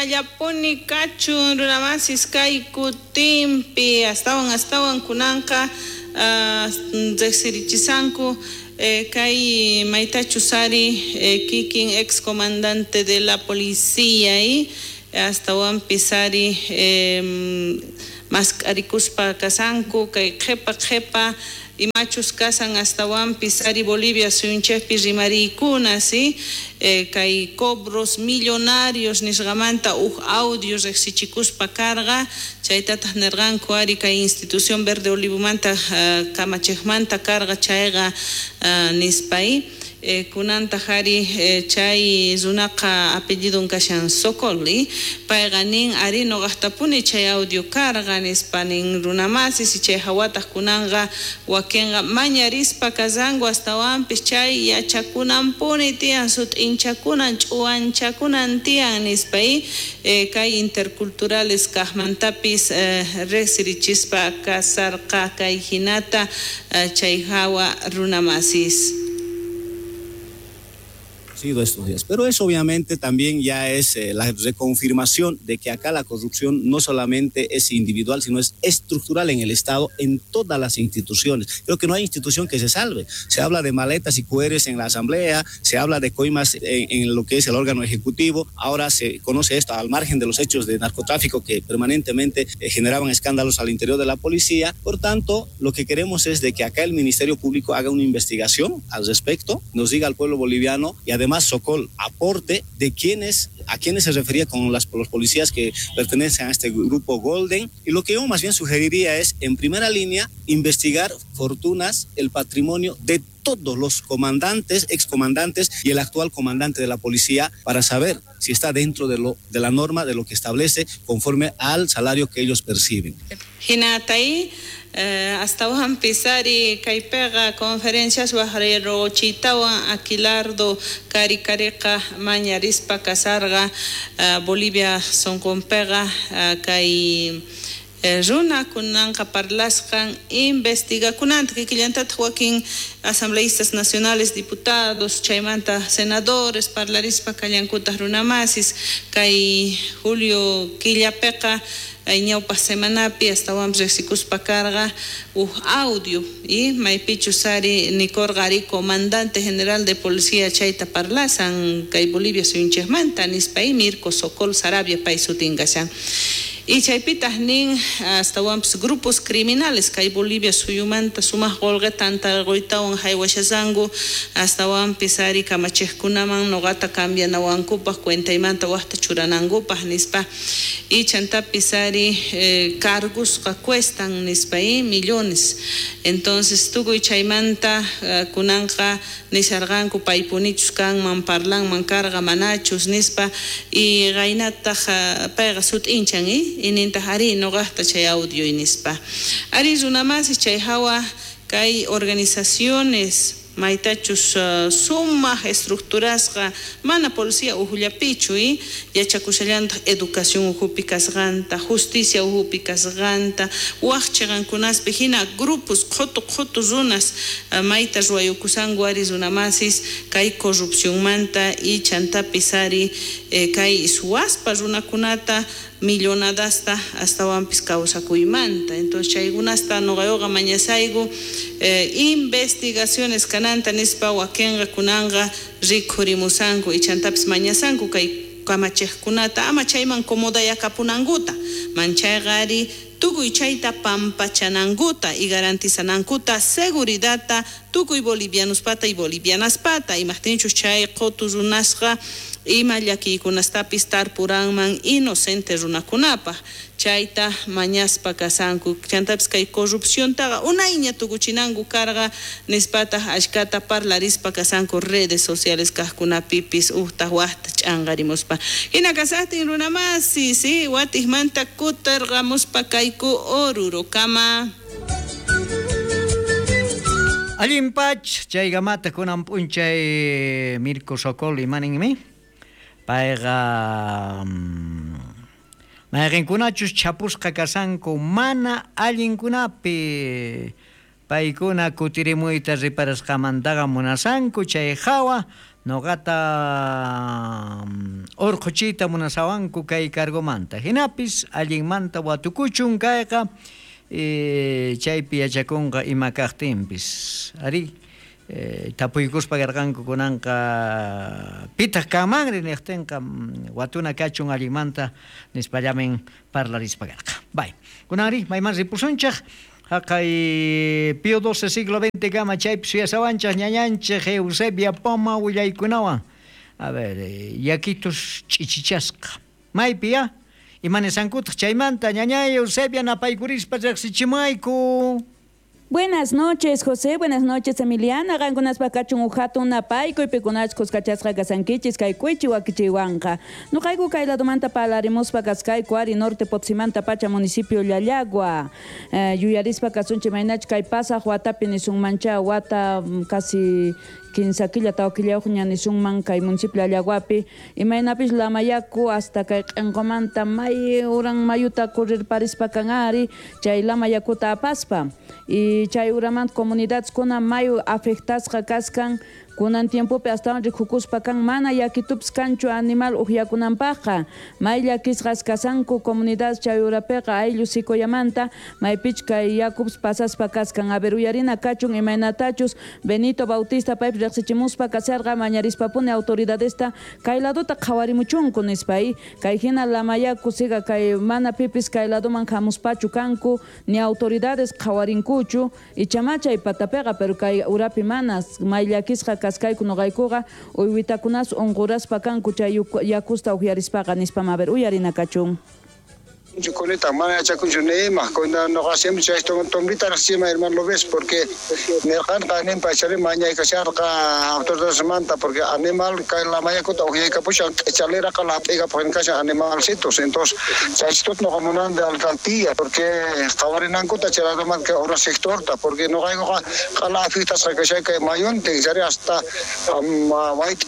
Jinallapuni kachun runamasis kay kutinpi astawan astawan kunanqa riqsirichisanku kay maytachus ari kikin ex comandante de la policía y astawanpis ari mask'arikuspa kasanku kay qhipa qhipa imachus kasan astawanpis ari Bolivia suyunchikpi rimariykuna, ¿sí? Kay cobros millonarios nisqamanta uj audio riqsichikuspa karqa chaytataq nirqanku ari kay institución Verde Olivomanta kamachiqmanta karqa chayqa nispay kunantaq ari chay runaqa apellidun kashan Sokol payqa nin ari nuqaqtapuni chay audio karqa nispa nin runamasis chay hawataq kunanqa wakinqa mañarispa kasanku astawanpis chay yachakunanpuni tiyan sut'inchakunan ch'uwanchakunan tiyan nispa kay interculturales kaqmantapis riqsirichispa kasarqa kay hinata chay hawa runamasis. Estos días. Pero eso obviamente también ya es la reconfirmación de que acá la corrupción no solamente es individual, sino es estructural en el Estado, en todas las instituciones. Creo que no hay institución que se salve. Se habla de maletas y QRs en la Asamblea, se habla de coimas en lo que es el órgano ejecutivo. Ahora se conoce esto al margen de los hechos de narcotráfico que permanentemente generaban escándalos al interior de la policía. Por tanto, lo que queremos es de que acá el Ministerio Público haga una investigación al respecto, nos diga al pueblo boliviano y además Sokol aporte de quiénes, a quiénes se refería con los policías que pertenecen a este grupo Golden. Y lo que yo más bien sugeriría es, en primera línea, investigar fortunas, el patrimonio de todos los comandantes, excomandantes y el actual comandante de la policía para saber si está dentro de la norma, de lo que establece conforme al salario que ellos perciben. Hinatay, astawanpis ari kaypiqa conferencias waqrayruchitawan Aquilardo Karikariqa mañarispa kasarqa Bolivia sunqunpiqa kay runa kunanqa parlasqan investigakunanta kikillantataq wakin asambleístas nacionales, diputados, chaymanta senadores parlarispa kallankutaq runamasis kay julio killapiqa ñawpaq semanapi astawanpis riqsikuspa karqa uj audio y maypichus ari nikurqa ari comandante general de policía chayta parlasan kay Bolivia suyunchikmanta nispa y Mirko Sokol Sarabia pay sutin kashan. Y chaypitaq nin astawanpis grupos criminales kay Bolivia suyumanta sumaq qullqita antarquytawan haywashasanku astawanpis ari kamachiqkunaman nuqata cambianawankupaq cuentaymanta waqta churanankupaq nispa y chantapis ari cargosqa cuestan nispa y millones. Entonces tukuy chaymanta kunanqa nisharqanku paypunichus kanman parlanman karqa manachus nispa y qaynataq payqa sut'inchan inintaq ari nuqaqta chay audio nispa. Ari runamasis chay hawa kay organizaciones maytachus sumaq estructurasqa mana policía uhullapichu yachakushallantaq educación uhupi kasqanta, justicia uhupi kasqanta, waq chiqankunaspi hina grupos qhutu qhutu runas mayta ruwayukusanku ari runamasis kay corrupcionmanta y chantapis ari kay suwaspa runakunata millonadasta astawanpis kawsakuymanta. Entonces chaykunasta nuqayuqa mañasayku investigaciones kananta nispa wakinqa kunanqa rikhurimusanku y chantapis mañasanku kay kamachiqkunata ama chayman comodayakapunankuta manchayqa ari tukuy chayta pampachanankuta y garantizanankuta seguridadta tukuy bolivianospata y bolivianaspata imaqtinchus chay qutu runasqa ima llakiykunastapis tarpuranman inocente runakunapaq chayta mañaspa kasanku chantapis kay corrupciontaqa unayña tukuchinanku karqa nispataq ashkata parlarispa kasanku redes sociales kaqkunapipis uqtaq waqta ch'anqarimuspa hina kasaqtin runamasi si watiqmanta kutirqamuspa kayku Orurokama. Allinpach chaykamata kunan p'unchay Mirko Sokol imaninmi payqa mayqinkunachus chapusqa kasanku mana allinkunapi paykuna kutirimuyta riparasqamantaqa munasanku chay hawa Noqata urqhuchiyta munasawanku kay cargomanta. Hinapis allinmanta watukuchun kayqa chaypi yachakunqa ima kaqtinpis. Ari tapuykuspa karqanku kunanqa pitaq kanmanri niqtinqa watuna kachun allinmanta nispallamin parlarispa karqa. Bay. Kunanri mayman ripusunchik? Haqay Pío XII siglo XX kama chaypi suyasawanchik ñañanchik Eusebia Poma willaykunawan. A ver, yakitus ch'ichichasqa. Maypi ya? Imanisankutaq chaymanta ñañay Eusebia napaykurispa riqsichimayku. Buenas noches, José. Buenas noches, Emiliana. Qankunaspa kachun uhatun napaykuy pikunachus kachasqa kasankichis kay k'uichi wakichiwanqa. Nuqayku kay ladomanta parlarimuspa kaskayku ari norte Potsimanta pacha municipio Llallagua. Yuyarispa kasunchik maynach kay pasaq watapi nisunmancha wata casi 15 killa tawa killayuqña nisunman kay municipio Llallaguapi imaynapis lamayaku hasta kay q'inqumanta may uran mayuta corrirparispa kan ari chay lamayakuta apaspa y chay uramanta comunidadeskuna mayu afectasqa kaskan kunan tiempopi astawan rikukuspa kan mana yakitupis kanchu animal uqyakunanpaqqa may llakisqas kasanku comunidades chay urapiqa ayllu sikoyamanta maypich kay yakupis pasaspa kaskan. A ver, uyarina kachun imaynatachus Benito Bautista paypis riqsichimuspa kasarqa mañarispapuni autoridadesta kay ladota qhawarimuchunku nispa kay hina lamayaku siga kay mana pipis kay ladoman hamuspachu kanku ni autoridades qhawarinkuchu ichama chay patapiqa pero kay urapi manas may llakisqa kaskayku nuqaykuqa uywitakunas unquraspa kanku chay yakusta uqyarispaqa nispa. A ver, uyarina kachun. Coneta, mana yachakunchu nima, cuando no hacemos esto, tombita encima, hermano, lo ves, porque nerqanqa ninpa chari mañaykasharqa autoridades manta, porque animal kay la mayakuta uqyaykapushan k'ichaleraqa lap'ikapaq kashan animalcitos, entonces chaychitut nuqa de alcaldía, porque qhawarinankuta chayladomanta kay obra sectorta, porque nuqaykuqa q'ala afectasqa kashay kay mayuntin, chari hasta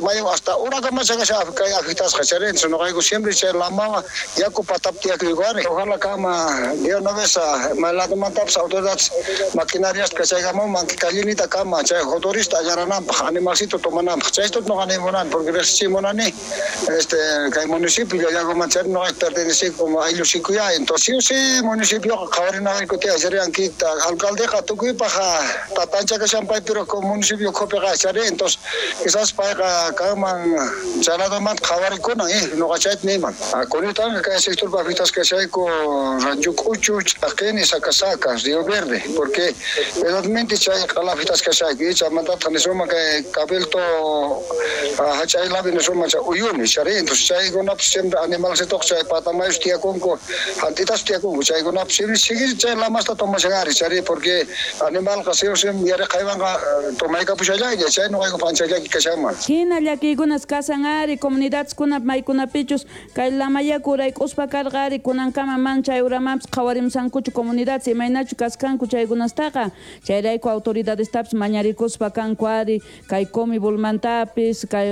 mayu hasta urakamacha kashan kay afectasqa chari, entonces nuqayku siempre chay lamawa yaku patapti yakuyku. Ojalá kama de una vez maladomantapas autoridades maquinarias que chaygamunman kallinita kama chay motorista allananpaq animalcito tomananpaq chaysto no animunan porque riqsichimunani kay municipio Llallaguman chay no pertenece como ayllu sikuya entonces sí municipio qhawarinayku tiyan chariankita alcaldeqa tukuypaq tatancha kashan pay pero como municipio ukhupiqa chari entonces quizás payqa kanman chayladomanta qhawarikunan noqa chayta niyman kunitanga kay sector afectasqa Chayco, Rancho Cuchu, Chaqeni, Sacasaca, Río Verde, porque verdaderamente chay qalafitas kashayku, chaymantata nisuma kay Cabildo hachaylapi nisuma chay uyuni, chari, entonces chaykunapas siempre animalcitoq chay patamayus tiyakunku, jantitas tiyakunku, chaykunapas siempre sigue chay lamasta tomashan ari, chari, porque animalqa siempre yaraqaywanqa tomaykapushallaylla, chay nuqayku panchallaki kashanman. Hina llakiykunas kasan ari, comunidadeskuna maykunapichus kay lamayaku urayk'uspa karqa ari, kunankama man chay uramanpis qhawarimsankuchu comunidades imaynachu kaskanku chaykunastaqa chayrayku autoridadestapis mañarikuspa kanku ari kay Comibulmantapis kay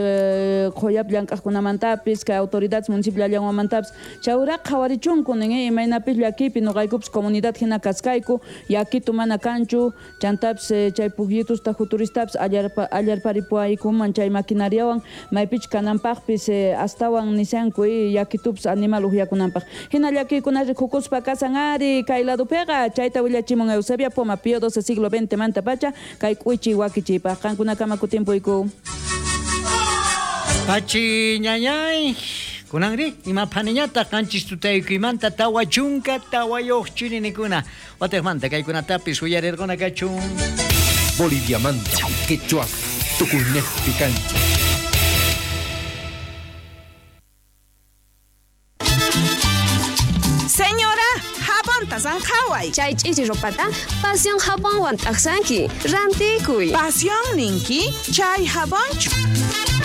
qhuyapi llank'aqkunamantapis kay autoridades municipio Llallaguamantapis chay uraqa qhawarichunku nin imaynapis llakipi nuqaykupis comunidad hina kaskayku yakitu mana kanchu chantapis chay pujyitusta juturistapis allarparipuaykuman chay maquinariawan maypich kananpaqpis astawan nisanku yakitupis animal uqyakunanpaq. Hina llakikuna rikukuspa kasan ari kay ladopiqa chayta willachimun Eusebia Poma Pío XII siglo XX manta pacha kay k'uichi wakichipaq qankunakama kutimpuyku. Pachi ñañay kunanri ima phaniñata qanchis tutaykuymanta 44 chirinikuna wataqmanta kaykunatapis uyarirquna kachun. Boliviamanta quechua tukuynejpi kancha. Señora, jabonta sanjaway. Chay ch'ichi ropata Pasión jabonwan t'aqsanki. Rantikuy. Pasión ninki, chay jabonchu.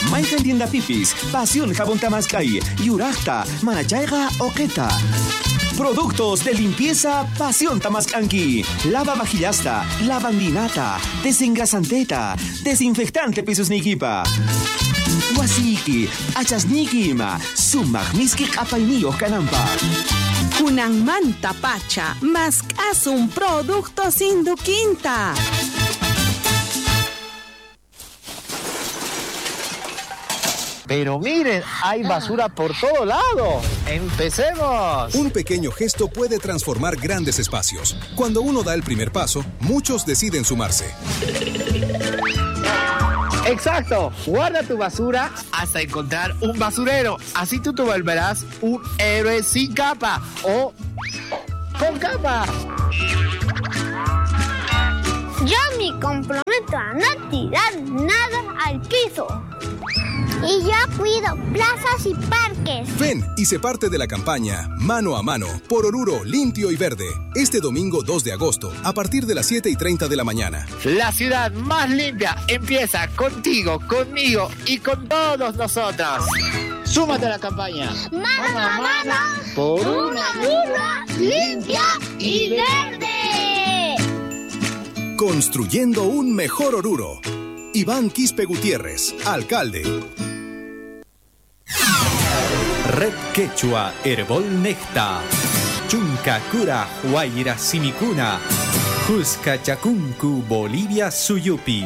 Mayqan tiendapipis, Pasión jabón tamaskay, yuraqta, manachayqa oqeta. Productos de limpieza Pasión Tamascanqui. Lava vajillasta, lavandinata, desengrasanteta, desinfectante pisos nikipa. Wasiki, achasniki ima, sumaq miski q'apayniyuq kananpaq. Kunanmanta pacha, mask'asun productos Induquinta. Pero miren, hay basura por todo lado. ¡Empecemos! Un pequeño gesto puede transformar grandes espacios. Cuando uno da el primer paso, muchos deciden sumarse. Exacto. Guarda tu basura hasta encontrar un basurero. Así tú te volverás un héroe sin capa o con capa. Yo me comprometo a no tirar nada al piso. Y yo cuido plazas y parques. Ven y sé parte de la campaña Mano a Mano por Oruro Limpio y Verde. Este domingo 2 de agosto, a partir de las 7:30 de la mañana. La ciudad más limpia empieza contigo, conmigo y con todos nosotros. Súmate a la campaña. Mano a mano por una Oruro limpia y verde. Construyendo un mejor Oruro. Iván Quispe Gutiérrez, alcalde. Red Quechua Herbol Necta. Chunka Kura Huayra Simikuna. Huska Chakunku Bolivia Suyupi.